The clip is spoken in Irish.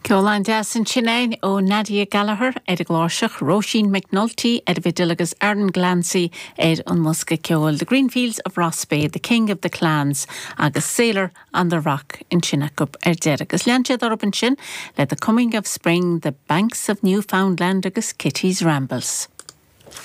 Ceol an-deas ansin againn ó Nadia Gallagher ar an gcláirseach, Róisín McNulty ar an bhfidil agus Aaron Glancy ar an mbosca ceoil. The Greenfields of Rossbeigh, The King of the Clans agus Sailor on the Rock ansin acu ar deireadh. Agus lean siad orthu ansin le The Coming of Spring, The Banks of Newfoundland agus Kitty's Rambles.